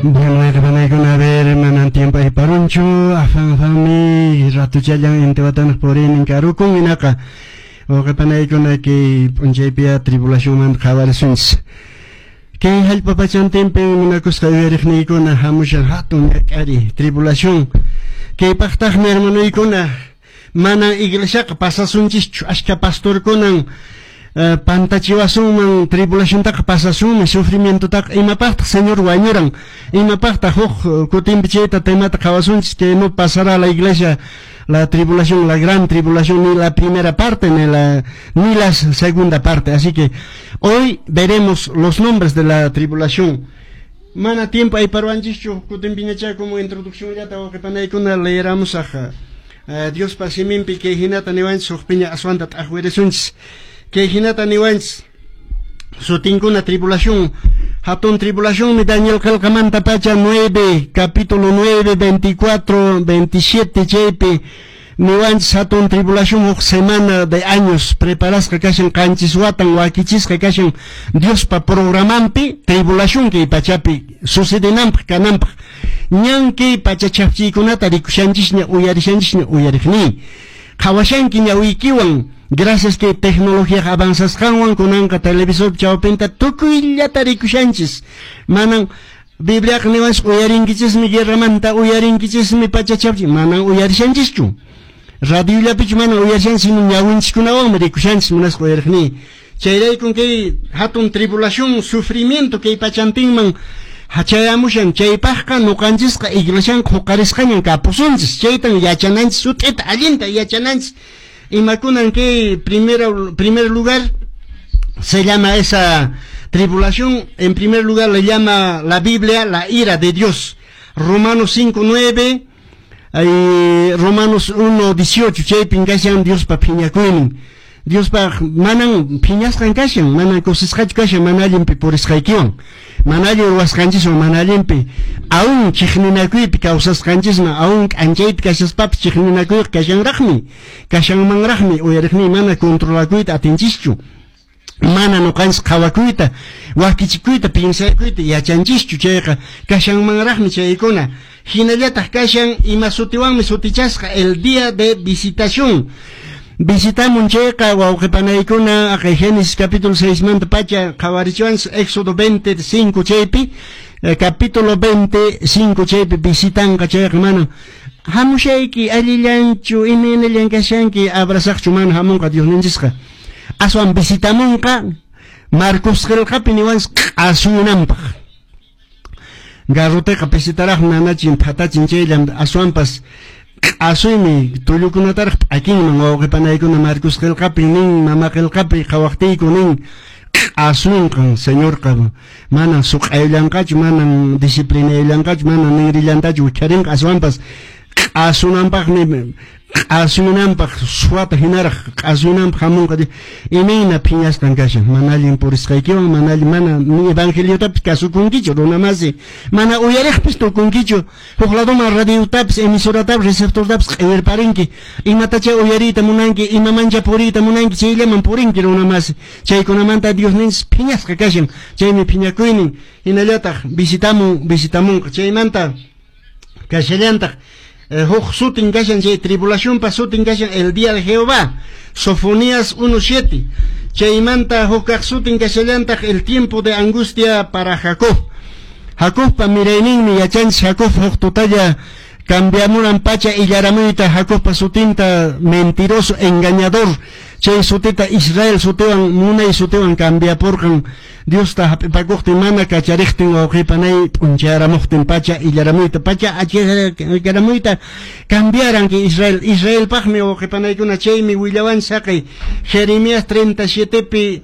Bueno, wayqipanaykuna, a ver, manan tiempo ayparunchu, afan afanmi ratuchallan intiwatanaq puriynin karukun. Hinaqa, wawqipanaykuna, kay p'unchaypiya tribulacionmanta qhawarisunchis. Kay hallp'a pachantinpin, munakusqa uyariqniykuna, hamushan hatun ñak'ariy, tribulación. Kaypaqtaqmi, hermanoykuna, mana iglesiaqa pasasunchischu. Ashka pastorkunan pantachiwasunman: tribulaciontaqa pasasunmi, sufrimientotaqa, imapaqtaq Señor wañuran, imapaqtaq? Huk kutinpi chayta temata qhawasunchis, que no pasará la iglesia la tribulación, la gran tribulación, ni la primera parte ni la segunda parte. Así que hoy veremos los nombres de la tribulación. Mana tiempo ayparwanchischu, kutinpiñachá como introduccionllata, wawqipanaykuna, leeramusaq Diospa siminpi kay hinata niwanchis, hukpiña aswanta t'aqwirisunchis. Kay hinata niwanchis sutinkuna tribulación. Hatun tribulacionmi Daniel qillqamanta pacha 9, capítulo 9, 24, 27, chaypi niwanchis hatun tribulación huk semana de años preparasqa kashan, 7 watan wakichisqa kashan Diospa programanpi tribulación kay pachapi sucedenanpaq, kananpaq. Ñan kay pacha chhafchiykunata rikushanchisña, uyarishanchisña, uyariqniy. Qhawashanki ñawiykiwan, gracias kay tecnología avanzasqanwan kunanqa televisor chawpinta tukuyllata rikushanchis. Manan Bibliaqa niwanchis uyarinkichismi guerramanta, uyarinkichismi pacha chhafchi, manan uyarishanchischu. Radiollapichu mana uyarishanchis, sino ñawinchiskunawanmi rikushanchis, munasqa uyariqniy. Chayraykun kay hatun tribulación, sufrimiento kay pachantinman hachayamushan. Chaypaqqa ñuqanchisqa iglesianqa huqarisqañan kapusunchis. Chaytan yachananchis, sut'ita allinta yachananchis. Imakunan kay primer lugar se llama esa tribulación? En primer lugar le llama la Biblia la ira de Dios. Romanos 5.9, ay, Romanos 1.18, chaypin kashan Diospa phiñakuynin. Diospa manan phiñasqan kashan, manan kusisqachu kashan mana allinpi purisqaykiwan, mana allin ruwasqanchiswan, mana allinpi, aún chiqninakuypi kawsasqanchisman, aún k'anchaypi kashaspapis chiqninakuyqa kashanraqmi, kashanmanraqmi, uyariqniy, mana controlakuyta atinchischu. Mana ñuqanchis qhawakuyta, wakichikuyta, piensakuyta yachanchischu, chayqa kashanmanraqmi chaykuna. Hinallataq kashan, ima sutiwanmi sutichasqa? El día de visitación. Visitamun chayqa, wawqipanaykuna, aqay Génesis capítulo 6 manta pacha qhawarichiwanchis, Éxodo 25 chaypi, capítulo 25 chaypi visitanqa. Chayqa mana hamushayki, allillanchu, imaynallan kashanki, abrazaqchu mana hamunqa Diosninchisqa. Aswan visitamunqa, Marcos qillqapi niwanchis, q'asuyunanpaq. Garroteqa pisitaraq nanachin, phatachin chayllam, aswanpas q'asuymi tullukunataraq p'akinman, wawqipanaykuna. Marcos qillqapi nin, mama qillqapi qhawaqtiyku nin, q'asunqan Señorqa, mana suq'ayllanqachu, manan disciplinaylanqachu, mana ninrillantachu wicharinqa, aswanpas q'asunanpaqmi, q'asuyunanpaq, suwata hinaraq q'asuyunanpaq hamunqa. Imayna phiñasqan kashan mana allin purisqaykiwan, mana allin, mana ni evangeliotapis kasukunkichu, runamasi, mana uyariqpis tukunkichu, huk ladoman radiotapis, emisoratapis, receptortapis q'iwirparinki, imatacha uyariyta munanki, imamancha puriyta munanki, chayllaman purinki, runamasi. Chaykunamanta Diosninchis phiñasqa kashan, chaymi phiñakuynin. Hinallataq visitamun, visitamunqa. Chaymanta kashallantaq huk sutin kashan chay tribulacionpa sutin kashan el día de Jehová, Sofonías 1.7. Chaymanta huk kaq sutin kashallantaq el tiempo de angustia para Jacob. Jacobpa mirayninmi, yachanchis, Jacob huk tutalla cambiamuran pacha illaramuyta Jacobpa sutinta, mentiroso, engañador, chay sutita Israel sutiwan, munay sutiwan cambiapurqan Diosta hap'ipakuqtin, mana kachariqtin, wawqipanay, p'unchayaramuqtin pacha illaramuyta, pacha achikaramuyta cambiaran kay Israel. Israelpaqmi, wawqipanaykuna, chaymi willawan saqay Jeremías 37pi.